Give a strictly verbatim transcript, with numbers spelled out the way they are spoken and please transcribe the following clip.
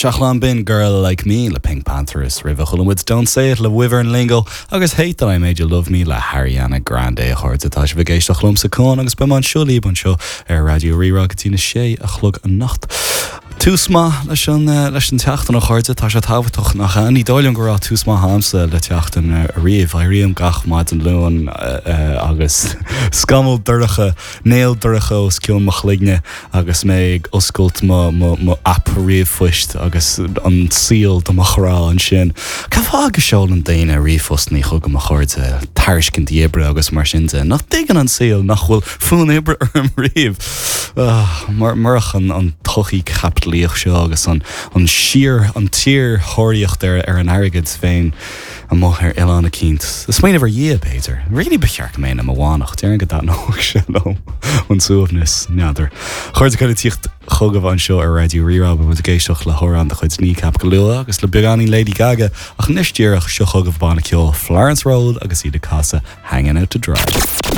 Seachlán b'in Girl Like Me le PinkPantheress roimhe chuala muid Don't Say It le Wyvern Lingo agus Hate That I Made You Love Me le Ariana Grande a chairde tá sibh ag éisteacht liomsa Cuan agus beidh mé anseo libh anseo ar Raidió Rí-Rá go dtí na sé a chlog anocht. Tús maith leis an leis an tseachtain a chairde tá sé tábhachtach nach ní dóigh liom go raibh tús maith agamsa le seachtain riamh éirím gach maidin Luain agus scamall dorcha néal dorcha os cionn mo chloigne agus mé ag oscailt mo app ríomhphoist agus an saol do mo chrá ansin. Cén fáth go seolann daoine ríomhphostanna chugam a chairde tairiscintí oibre agus mar sin de nach dtuigeann an saol nach bhfuil fonn oibre orm riamh. Murach an an tsochaí chaipitlíoch seo agus an an síor an tsíorthóraíocht ar ar an airgead féin amuigh ar oileán eicínt. Smaoineamh ar Dhia b'fhéidir. Really ba cheart go mbeinn i mo mhanach, déarfainn go dtaitneodh sé liom an suaimhneas n'fheadar. Chairde cuid tíocht chugaibh anseo ar Raidió Rí-Rá muid ag éisteacht le hamhrán de chuid Kneecap go luath agus le beagáinín Lady Gaga ach anois díreach seo chugaibh banna ceoil Florence Road agus iad ag casadh Hanging Out to Dry.